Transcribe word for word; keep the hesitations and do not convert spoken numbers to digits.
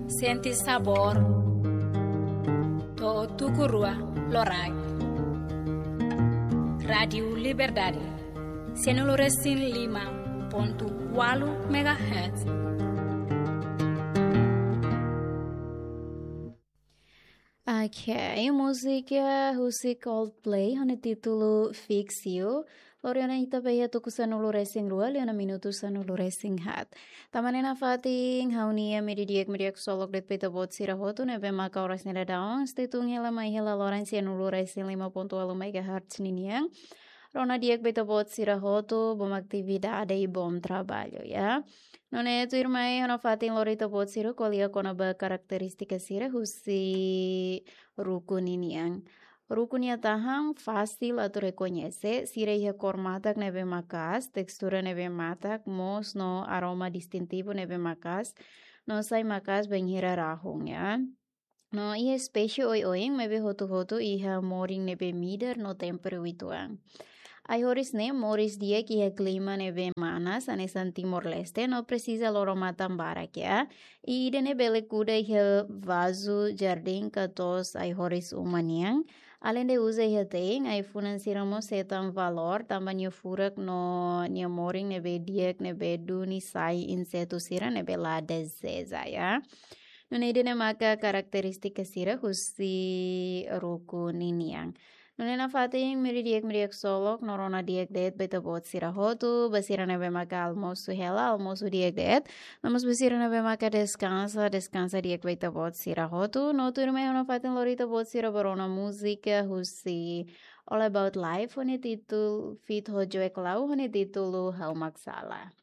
Sente sabór. To'o tuku rua loraik. Rádiu Liberdade. Sianulu resin lima pontu ualu megahertz. Ok, múzika husi Coldplay, ho nia títulu Fix You. Lori ona ita ba iha tuku sanulu resin rua, liu ona minutu sanulu resin haat. Tanba ne'e nafatin, ha'u-nia media di'ak, media ksolok de'it ba ita-boot sira hotu, ne'ebé maka oras ne'e daudaun, sei tun hela mai hela loron sianulu resin lima pontu ualu megahertz ninian. Rona di'ak ba ita-boot sira hotu, bom atividade i bom trabalho, ya. Nune'e tuirmai ha'u nafatin lori ita-boot sira ko'alia kona-ba karakterístika sira husi ruku ninian. Ruku nia tahan fasil atu rekoñese, sira iha kór matak ne'ebé maka'as, testura ne'ebé matak, mós no aroma distintivu ne'ebé maka'as, no sai maka'as bainhira rahun, ya. No iha espésie oioin maibé hotu-hotu iha morin ne'ebé midar no temperu uitoan. Ai-horis ne'e moris di'ak iha klima ne'ebé manas, hanesan Timor-Leste, no presiza loro-matan barak, ya. I ida-ne'e bele kuda iha vazu jardín ka to'os ai-horis uma nian. Aleinde uza iha te'in, ai-funan sira mós hetan valór, tanba nia furak no nia morin ne'ebé di'ak, ne'ebé duni sai insetu sira ne'ebé la dezeja, ya. Nune'e ida-ne'e maka karakterístika sira husi ruku ninian. Nune'e nafatin, media di'ak, media ksolok, no rona di'ak de'it ba ita-boot sira hotu, ba sira ne'ebé maka almosu hela, almosu di'ak de'it, no mós ba sira ne'ebé maka deskansa, deskansa di'ak ba ita-boot sira hotu, no tuirmai ha'u nafatin lori ita-boot sira ba rona múzika husi All About Life, ho nia títulu, feat ho Joey Clau, ho nia títulu Ha'u Mak Sala.